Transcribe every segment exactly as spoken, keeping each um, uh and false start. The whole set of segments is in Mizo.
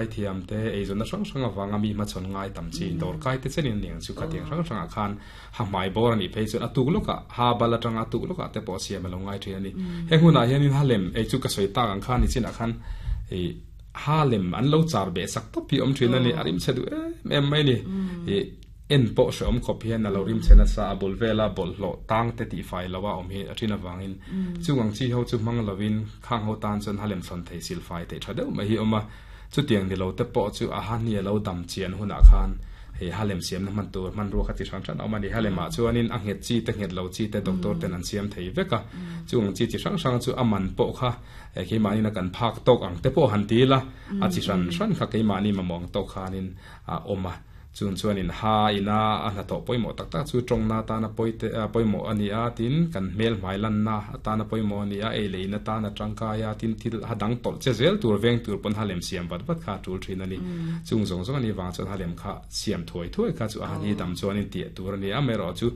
Zai thiam te eizawnna hrang hrang avanga mi hmachhawn ngai tam chi dawr kai te chenin aniang chu khatiang hrang hrangah khan ha hmai bawr a nih phei chuan a tuk lawkah ha bal atanga a tuk lawkah te pawh siam a lo ngai thin a ni. Heng hunah hianin ha lem ei chu ka sawi tak ang khan nichinah khan ih ha lem an lo char beh sak tawp hi a awm thin a ni, a rim chhe duh em em mai a ni. Ih en pawh hrehawm khawp hian a lo rim chhe nasa a bul vela bawlhhlawh tang te tih fai lo a awm hi a thin avangin chung ang chi ho chu hmang lovin khang ho tan chuan ha lem thlawn thei sil fai theih tha deuh mai hi a awm a. Chutiang ni lo te pawh chu a ha hni a lo dam chian hunah khan hei ha lem siamna hman tur hmanrua kha chi hrang hrang a awm a ni. Ha lemah chuanin a nghet chi te nghet lo chi te doctor ten an siam thei vek a, chung ang chi chi hrang hrang chu a man pawh kha keimahni na kan phak tawk ang te pawh han ti ila a chi hran hran kha keimahni mamawh ang tawk khanin a awm a. Chung chuanin ha ina a hnathawh pawimawh tak tak chu tawngna atana pawite pawimawh a ni a, tin kan hmel hmai lanna atana pawimawh a ni a, ei leh in atana tangkai a, tin thil ha dang tawlh che zel tur veng tur pawn ha lem siam vat vat kha a tul thin a ni. Chung zawng zawng a nih vang chuan ha lem kha siam thuai thuai kha chu a han hi dam chuanin tiah tur a ni a, amaherawh chu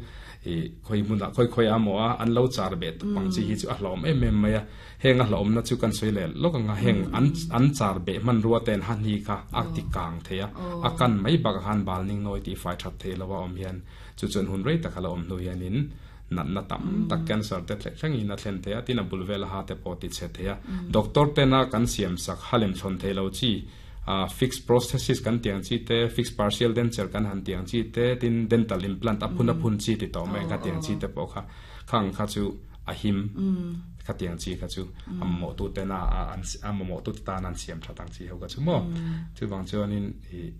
ih khawi hmunah khawi khawi a maw a, an lo char beh pang chi hi chu a hlauhawm em em mai a. Heng a hlauhawmna chu kan sawi leh lawk ang a, heng an an char beh hmanrua ten ha hni kha a ti kang thei a, a kan mai bakah khan bal ning nawi tih fai that thei lo a awm hian chu chuan hun rei taka la awm hnu hianin natna tam tak cancer te thleng thlengin a thlen thei a, tin a bul vela ha te pawh ti chhe thei a. Doctor tena kan siam sak ha lem thlawn thei lo chi fixed prosthesis kan tih ang chi te, fixed partial denture kan han tih ang chi te, tin dental implant a phun a phun chi ti tawh mai ang kha tih ang chi te pawh kha khang kha chu a him kha tih ang chi kha chu a mamawh tu tena a mamawh tu te tan an siam that ang chi ho kha chu maw. Chuvang chuanin ih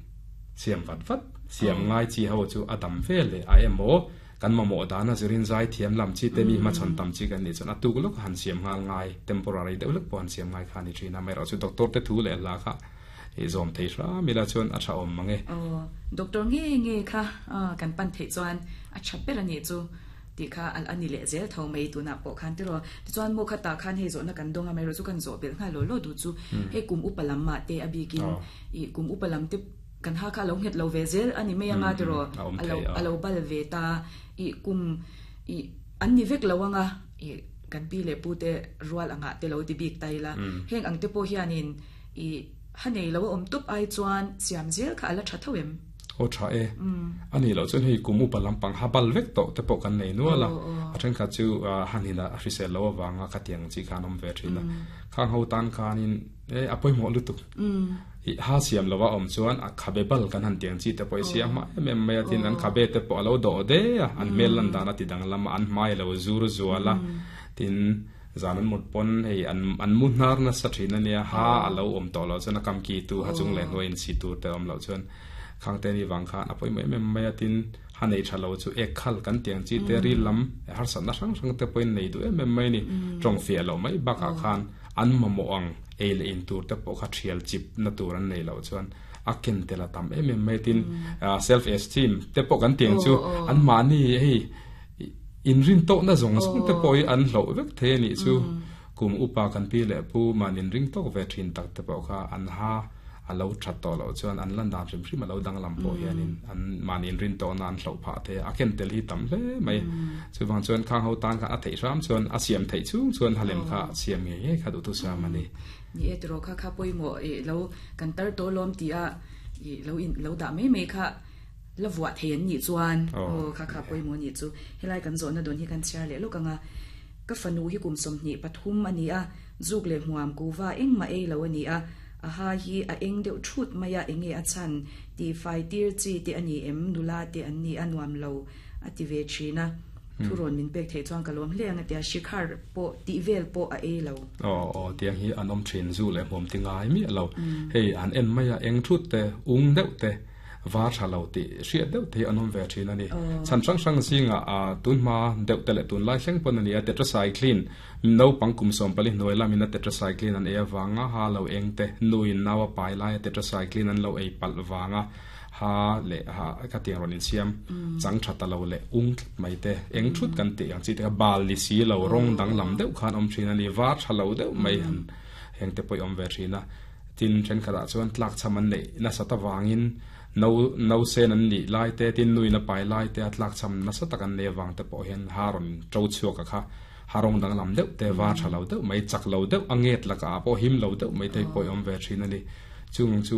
siam vat vat siam ngai chi ho chu a dam ve leh a emaw kan mamawh dana zirin zai thiam lam chi te mi hmachhawn tam chi kan nih chuan a tuk lawk a han siam nghal ngai temporary deuh lek pawh han siam ngai kha a ni thin a, amaherawh chu doctor te thu leh hla kha ih zawm thei hram ila chuan a tha awm mang e. Aw, doctor nge nge kha kan pan theih chuan a tha ber a nih chu tih kha a ni leh zel tho mai tunah pawh khan tiraw. Tichuan maw khatah khan hei zawhna kan dawng a, amaherawh chu kan zawh belh nghal law law duh chu hei kum upa lam mah te a bikin ih kum upa lam te kan ha kha a lo nghet lo ve zel a ni mai anga tiraw, a lo a lo bal ve ta ih kum ih an ni vek lo anga ih kan pi leh pu te rual angah te lo ti bik ta ila heng ang te pawh hianin ih ha nei lo a awm tawp ai chuan siam zel kha a la tha tho em? Aw tha e. A nih loh chuan hei kum upa lampang ha bal vek tawh te pawh kan nei nual a, a thenkhat chu hanin a hrisel lo avanga khatiang chi khan awm ve thin a. Khang ho tan khanin e a pawimawh lutuk. Ih ha siam lova awm chuan a khabe bal kan han tiang chi te pawh i siam hma em em mai a, tin an khabe te pawh a lo dawh de a, an hmel lan dan a ti danglam a, an hmai a lo zur zual a, tin zan an mut pawn hei an an mu hnar nasa thin a nia, ha a lo awm tawh loh chuan a kam ki tu ha chung leh hnuai in si tur te awm loh chuan khang te ni vang khan a pawimawh em em mai a, tin ha nei tha lo chu ek khal kan tiang chi te ril lam harsatna hrang hrang te pawhin nei duh em em mai a ni, tawng fiah loh mai bakah khan an mamawh ang ei leh in tur te pawh kha thial chip na tur an nei loh chuan a ken tel a tam em em mai tin self esteem te pawh kan tiang chu an mahni hei inrin tawhna zawng zawng te pawh hi an hloh vek thei a nih chu kum upa kan pi leh pu mahni inring tawk ve thin tak te pawh kha an ha a lo that tawh loh chuan an lan dan hrim hrim a lo danglam pawh hianin an mahni inrin tawhna an hloh phah thei a, a ken tel hi tam hle mai. Chuvang chuan khang ho tan khan a theih hram chuan a siam theih chhung chuan halem kha siam ngei ngei kha duhtu siam a ni. Ni e tiraw kha kha pawimawh ih lo kan tar tawh lawm tih a ih lo in lo dah mai mai kha la vuah thei an nih chuan aw kha kha pawimawh nih chu helai kan zawhna dawn hi kan chhiar leh lawk ang a, ka fanu hi kum sawmhnih pathum a ni a, zuk leh hmuam kuva engmah ei lo a ni a, a ha hi a eng deuh thut mai a, enge a chhan tih fai tir chi te a ni em, nula te an ni a nuam lo a ti ve thin a, thu rawn min pek theih chuan ka lawm hle ang a tia, shikhar pawh tih vel pawh a ei lo. Aw aw tiang hi an awm thin zu leh hmuam ti ngai miah lo, hei an en mai a eng thut te ung deuh te var tha lo tih hriat deuh te hi an awm ve thin a ni. Chhan hrang hrang zingah tunhma deuh te leh tunlai thleng pawn a ni a, tetracycline naupang kum sawm pali hnuai lamin a tetracycline an ei avanga ha lo eng te, nuin nau a pai laia tetracycline an lo ei palh vanga ha leh ha khatiang rawn insiam chang tha ta lo leh ung tlat mai te, eng thut kan tih ang chi te kha bal ni si lo rawng danglam deuh khan awm thin a ni, var tha lo deuh mai han heng te pawh i awm ve thin a. Tin, thenkhatah chuan tlak chham an neih nasat avangin no no sen an nih lai te, tin nuin a pai lai te a tlak chham nasa tak an nei avang te pawh hian ha rawn to chhuak a kha ha rawng danglam deuh te, var tha lo deuh mai, chak lo deuh a nget lakah pawh him lo deuh mai te pawh i awm ve thin a ni. Chung chu